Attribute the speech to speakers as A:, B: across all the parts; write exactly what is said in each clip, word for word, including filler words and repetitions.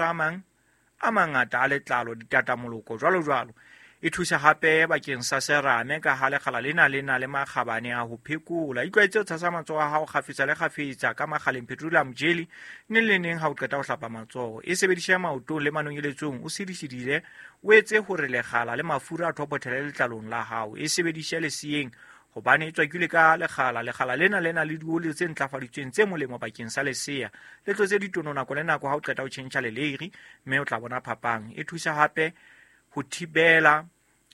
A: a mang a mangata a letlalo, ditatamoloko jwalo jwalo. E thusa hape bakeng sa serame ka ha lekgala lena le na le makgabane a ho phekola. Itlwaetse ho tshasa matsoho a hao kgafetsa le kgafetsa ka makgaleng petroleum jelly neng le neng ha o qeta ho hlapa matsoho. E sebedise maotong le manonyeletsong o sidisidile, o etse hore lekgala le mafura a thopothele letlalong la hao. E sebedise leseyeng hobane e tswakilwe ka lekgala. Lekgala lena le na le dioli tse ntlafaditsweng tse molemo bakeng sa lesea. Le tlotse ditono nako le nako ha o qeta ho tjhentjha leleiri, mme o tla bona phapang. E thusa hape ho thibela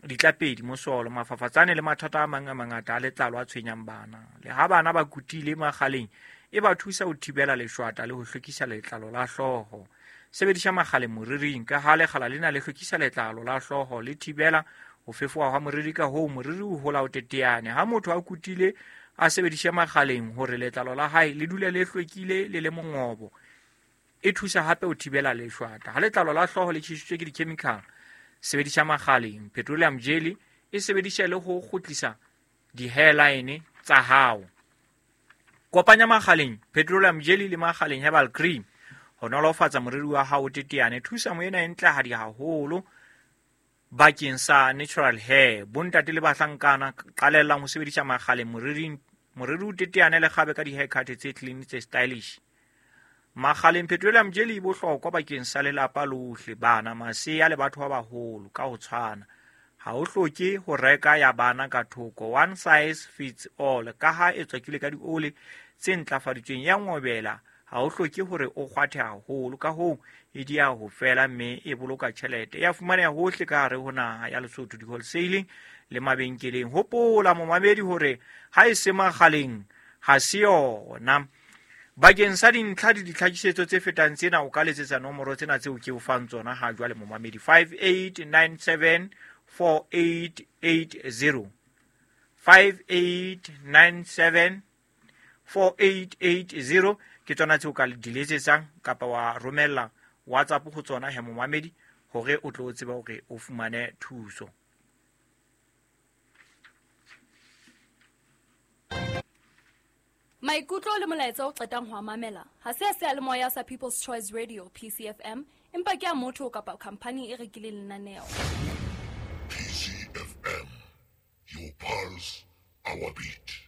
A: ditlapedi, mosolo, mafafatsane le mathata a mang a mangata a letlalo a tshwenyang bana. Le ha bana ba kutile makgaleng, e ba thusa ho thibela leshwata le ho hlwekisa letlalo la hlooho. Sebedisa makgale moriring ka ha lekgala lena le hlwekisa letlalo la hlooho, le thibela ho fefoha hwa moriri, ka hoo moriri o hola o teteane. Ha motho a kutile, a sebedise makgaleng hore letlalo la hae le dule le hlwekile le le mongobo. E thusa hape ho thibela leshwata. Ha letlalo la hlooho le tjhesitswe ke di-chemical, sebedisa makgaleng petroleum jelly. E sebedisa le ho kgutlisa di-hairline tsa hao. Kopanya makgaleng petroleum jelly le makgaleng herbal cream ho nolofatsa moriri wa hao o teteane. Thusa moena e ntlehadi haholo bakeng sa natural hair. Bontate le bahlankana qalellang ho sebedisa makgaleng moriring, moriri o teteane le kgabe ka di-haircut tse clean tse stylish. Makgaleng petroleum jelly e bohlokwa bakeng sa lelapa lohle, bana, masea le batho ba baholo ka ho tshwana. Ha o hloke ho reka ya bana ka thoko, one size fits all. Ka ha e tswakilwe ka dioli tse ntlafaditsweng ya ngobela, ha o hloke hore o kgwathe haholo, ka hoo e dia ho fela mme e boloka tjhelete. E a fumaneha hohle ka hare ho naha ya Lesotho, di-wholesaling le mabenkeleng. Hopola momamedi hore ha e se makgaleng ha se yona. Bakeng sa dintlha le ditlhakisetso tse fetang tsena, o ka letsetsa nomoro tsena tseo ke o fang tsona ha jwale momamedi: five eight nine seven four eight eight zero, five eight nine seven four eight eight zero ke tsona tseo ka di letsetsang kapa wa romella WhatsApp ho tsona he momamedi hore o tlo tseba hore o fumane thuso.
B: Maikutlo le molaetsa o qetang ho mamela ha se a seyalemoya sa People's Choice Radio P C F M, empa ke a motho kapa khampani e rekileng lenaneo.
C: P C F M, your pulse, our beat.